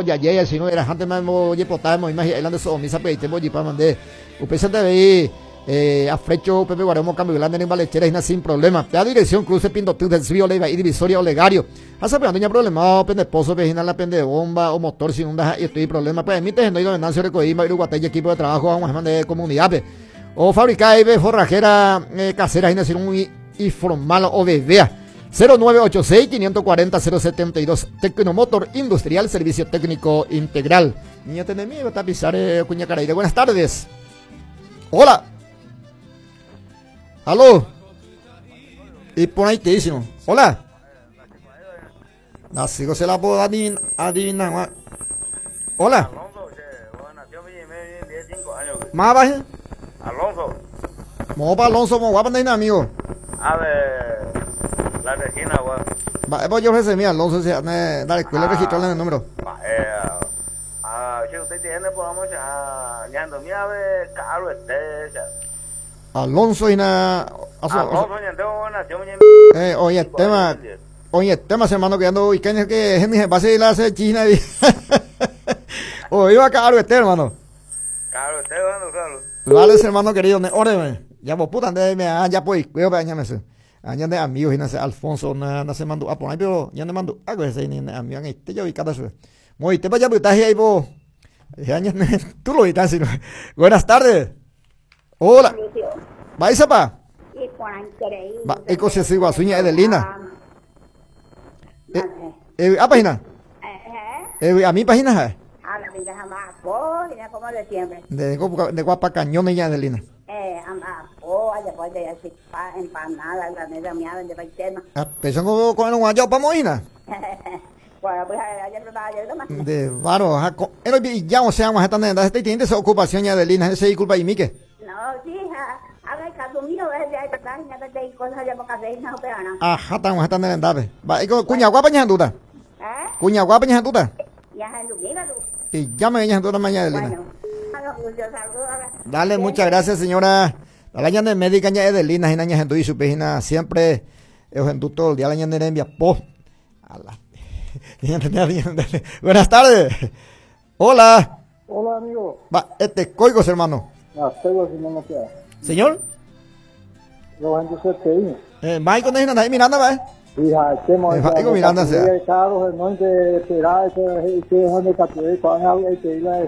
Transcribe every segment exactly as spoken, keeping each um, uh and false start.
Oyaye, si no era antes más oye potamos imagina de so misa pe tempo jipa mande. Upéicha avei eh, afrecho Pepe Guaremo cambio grande en balechera y sin problema. La dirección cruce Pindotú del Río Leiva y Divisoria Olegario. Hasta pero ando problema pende pozo vecina la pende bomba o motor sin un y estoy problema. Pues emite no ido Venancio Recoima Uruguataya equipo de trabajo vamos a de comunidad. O fabricar y forrajera eh, casera y un informal o bebea. cero nueve ocho seis, quinientos cuarenta, cero setenta y dos. Tecnomotor Industrial, servicio técnico integral. Niña, tenés miedo, está a pisar, eh, cuña caraída. Buenas tardes. Hola. Aló. Y por ahí te dicen. Hola. Así que se la puedo adivinar. Hola. Más baja. Alonso. Mo pa Alonso, mo guapa no amigo. A ver, la Regina, güey. Va, voy yo ese mío, Alonso, se ande, dale, cuál es registrarle el número. Va, eh, ah, si usted tiene, pues vamos a, ñando, mira, a ver, caro este, ya. Alonso y na, Alonso, ñando, nació, Eh, oye, el tema, oye, el tema, hermano, que ando, y que es que es mi base de la hace China y oye, iba a caro este, hermano. Caro este, bueno, claro. Vale, hermano querido, ne, óreme. Ya vos puta, ande, me, ah, ya pues, cuidado, añame ese. Añade amigos, y nace Alfonso, na, na se mandó a poner, pero ya ne mandó algo ese, ni, ni, amigo, este yo vi cada su. Muy, te vaya a botar ahí, vos. Ya, ya, ne, tú lo viste, sino. Buenas tardes. Hola. ¿Vais a pa? Va, eco se sigo a sueña Edelina. Eh, eh, a página. Eh, a mi página, eh. A la vida jamás, como de siempre. De, de guapa cañón ella, Adelina. Eh, amapo, allá voy de así, pa, empanada, la mesa mía, donde va el tema. Ah, pensó con, con un guayo pa moina. Bueno, pues ayer lo ayer lo más. De varo, ajá, con, el y ya, o sea, vamos a estar en este tiene esa ocupación ya, Adelina, ese disculpa y mique. No, sí, ja, haga el caso mío, ves, ya hay verdad, ya te hay cosas ya porque hacer, no, pero no. Ajá, estamos estando en el Va, y con, cuña guapa, ña, duda. ¿Eh? Cuña guapa, ña, duda. Ya, duda, tú. Y ya me ña, duda mañana, Adelina. Bueno. Dale, muchas gracias, señora. La ña de médica ña Edelina, ña ña y su página siempre es en todo el día la ña de envía po. A la. Buenas tardes. Hola. Hola, amigo. Va, este coigos, hermano. Ah, tengo si no me queda. Señor. Yo en T I. Eh, Michael no es Miranda, va. Hija, este Michael Miranda sea. No te esperaba ese ese donde capturé con el que iba a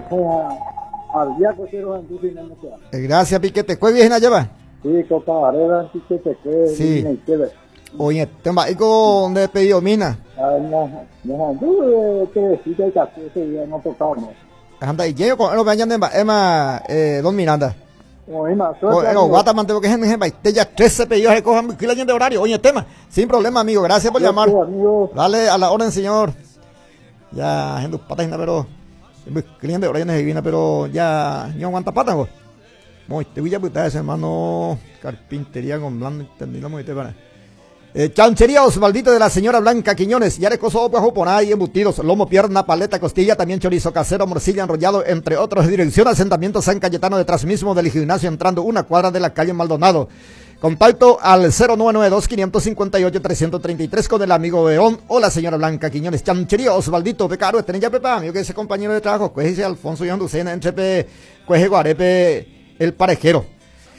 Gracias, Piquete. ¿Cuál viene allá va? Sí, Copa Varela, Piquete, que sí. Oye, te va y con de pedido mina. Ah, no, no, que sí que ese día no tocaba, no. Anda y llego con lo vayan de Emma eh don Miranda. Oye, no, guata mantengo que gente te ya trece pedidos recojan de horario. Oye, tema, sin problema, amigo. Gracias por llamar. Dale a la orden, señor. Ya, gente patas pero cliente de horario divina, pero ya no aguanta patas, vos. Muy, te voy a putar ese hermano. Carpintería con blando, entendí muy te para. Eh, chanchería Osvaldito de la señora Blanca Quiñones, Yarecoso, ojo, por ahí, embutidos, lomo, pierna, paleta, costilla, también chorizo casero, morcilla enrollado, entre otros. Dirección Asentamiento San Cayetano, detrás mismo del gimnasio, entrando una cuadra de la calle Maldonado. Contacto al cero nueve nueve dos, quinientos cincuenta y ocho, trescientos treinta y tres con el amigo Verón o la señora Blanca Quiñones. Chanchería Osvaldito, Pecaro, este ya pepa, amigo que ese compañero de trabajo, cuéjese Alfonso y Lucena, entre pe, cueje Guarepe, el parejero.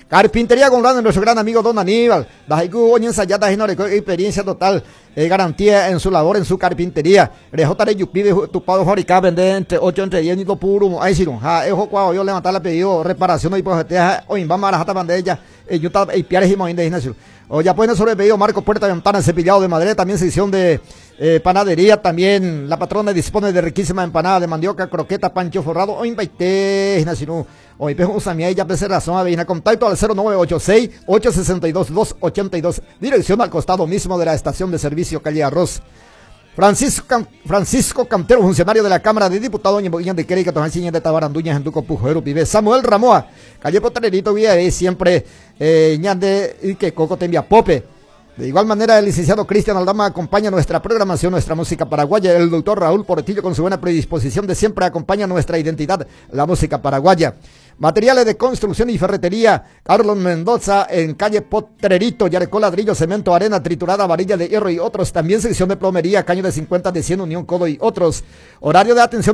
Carpintería con grande, nuestro gran amigo don Aníbal. Dajaiku, oñen sayata, experiencia total, eh, garantía en su labor, en su carpintería. Rejotare yupi, tupado fabricar, vender entre ocho, entre diez, ni lo puro. Ahí sí, ja, ejo cuando yo levantar la pedido, reparación y pues, hoy va marajata bandella, eh, yuta, y piares y moín de gimnasio. O ya pueden sobre pedido marco, puerta, ventana, cepillado de madera, también sección de eh, panadería, también la patrona dispone de riquísima empanada de mandioca, croqueta, pancho forrado, o invaite, gimnasio. Hoy pejo usamia y ya pese razón, avina contacto al cero nueve ocho seis, ocho sesenta y dos, dos ochenta y dos, dirección al costado mismo de la estación de servicio calle Arroz. Francisco, Francisco Cantero, funcionario de la Cámara de Diputados, de Querica, Tojanciña de Tabaranduña, Genduco, Pujero, Vive, Samuel Ramoa, calle Potrerito, Vía, siempre, eh, ñande, y que Coco te envía Pope. De igual manera, el licenciado Cristian Aldama acompaña nuestra programación, nuestra música paraguaya. El doctor Raúl Portillo, con su buena predisposición de siempre, acompaña nuestra identidad, la música paraguaya. Materiales de construcción y ferretería, Carlos Mendoza en calle Potrerito, Yarecó, ladrillo, cemento, arena triturada, varilla de hierro y otros. También sección de plomería, caño de cincuenta, de cien, Unión, Codo y otros. Horario de atención de